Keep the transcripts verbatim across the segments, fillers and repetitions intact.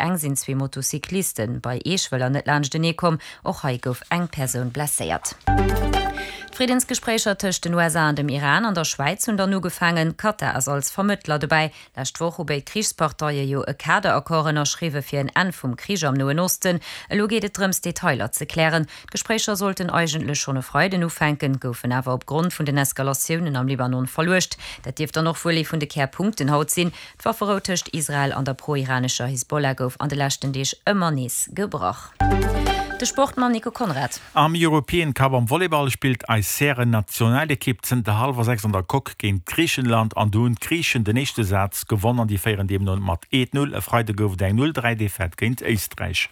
eng sinn zwee Motocycliste bei Eeschwëller net laanschtenee komm. Och hei gouf eng Persoun blesséiert. D'Friddensgespréicher tëscht den U S A an dem Iran an der Schwäiz hunn dann ugefaangen. Katar ass als Vermëttler dobäi. Lescht Woch hu béid Krichsparteie jo e Kaderaccord ënnerschriwwe fir en Enn vum Krich am Noen Osten. Elo geet et drëms, Detailer ze klären. D'Gespréicher sollten eigentlech schonn e Freiden ufänken, goufen awer opgrond vun den Eskalatiounen am Libanon verluecht. Dat dierft dann och wuel ee vun de Kärpunkten haut sinn. D'Wafferou tëscht Israel an der pro-iranescher Hisbollah gouf an de leschten Deeg ëmmer nees gebrach. De Sport mam Nico Conrad. Am European Cup am Volleyball spillt eis Hären-Nationalekipp zënter hallwer sechs an der Coque géint Griichenland an do hunn d'Griichen den éischte Saz gewonn an déi féieren deemno mat eent Null. E Freide gouf et eng Null dräi Defaite géint Éisträich.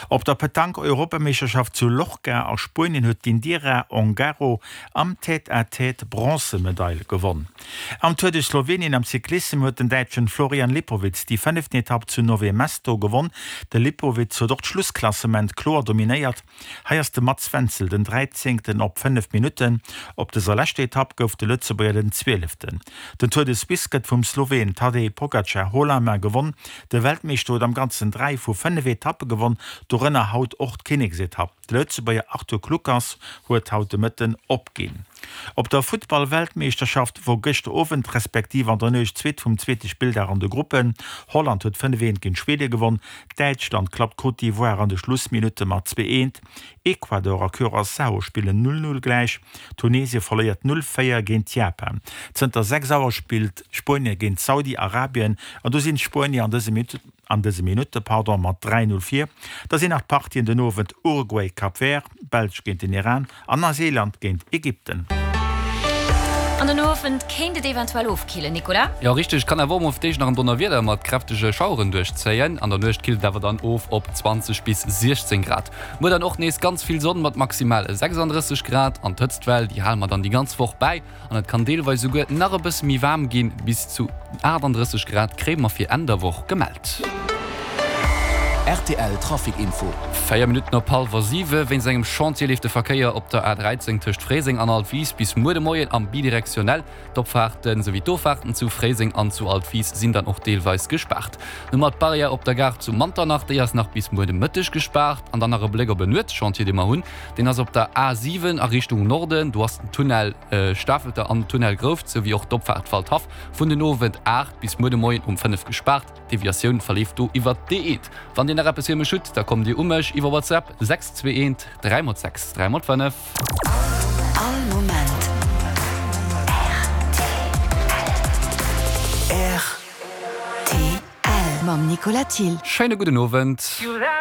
Op der Petanque-Europameeschterschaft zu Lorca a Spuenien huet d'Indira Ongaro am Tête-à-Tête d'Bronzemedail gewonn. Am Tour de Slowenien am Cyclissem huet den Däitschen Florian Lipowitz déi fënneften Etapp zu Nové Mesto gewonn. De Lipowitz huet och d'Schlussklassement kloer dominéiert. Hei ass de Mats Wenzel den dräizéngten op fënnef Minutten. Op dëser leschter Etapp gouf de Lëtzebuerger den zwieleften. Den Tour de Suisse gëtt vum Sloween Tadej Pogacar haut la main gewonn. De Weltmeeschter huet am Ganzen dräi vu fënnef Etappe gewonn, dorënner haut och d'Kinneksetapp. De Lëtzebuerger Arthur Kluckers huet haut de Mëtten opginn. Op der Futtball-Weltmeeschterschaft wor gëschter Owend respektiv an der Nuecht zweet vum zweete Spilldag an de Gruppen. Holland huet fënnef eent géint Schwede gewonn, Däitschland klappt Côte d'Ivoire an de Schlussminutte mat zwee eent, Ecuador a Curaçao spillen null null gläich, Tunesie verléiert null véier géint Japan. Zënter sechs Auer spillt Spuenie géint Saudi-Arabien an do sinn d'Spuenier an dëse Minutten an dëse Minutte, pardon, mat dräi null vir. Da sinn nach d'Partien den Owend Uruguay, Cap Vert, Belsch géint den Iran an Neuseeland géint Ägypten. An den Owend kéint et eventuell ofkillen, Nicolas? Jo, richteg, kann awer och mol fir d'éischt nach en Donnerwieder mat kräftege Schaueren duerchzéien. An der Nuecht killt et awer dann of op zwanzeg bis siechzéng Grad. Muer dann och nees ganz vill Sonn mat maximal sechsanddrësseg Grad. An d'Hëtztwell, déi hale mer dann déi ganz Woch bäi. An et kann deelweis souguer nach e bësse méi waarm ginn, bis zu achtandrësseg Grad kréie mer fir Enn der Woch gemellt. R T L Trafic Info. Véier Minutten op hallwer siwe. Wéinst engem Chantier leeft de Verkéier op der A dräizéng tëscht Fréiseng an Altwis bis muer de Moien am bidirektionell. D'Opfaarten souwéi d'Offaarten zu Fréiseng an zu Altwis sinn dann och deelweis gespaart. Nummer d'Barrière op der Gare zu Manternach, déi ass nach bis muer de Mëtteg gespaart. An dann nach e Bléck op en Nuetschantier, dee mer hunn. Deen ass op der A siwen a Richtung Norden. Do ass den Tunnel Stafelter an den Tunnel Grouft souwéi och d'Opfaart Waldhaff vun den Owend aacht bis muer de Moien um fënnef gespaart. D'Deviatioun verleeft do iwwer d'E eent. Wann Dir nach eppes fir mech hutt, da kommt Dir u mech iwwer WhatsApp sechs zwee eent dräi mol sechs dräi mol fënnef. All Moment R T L R T L mam Nicolas Thill. Schéine gudden Owend.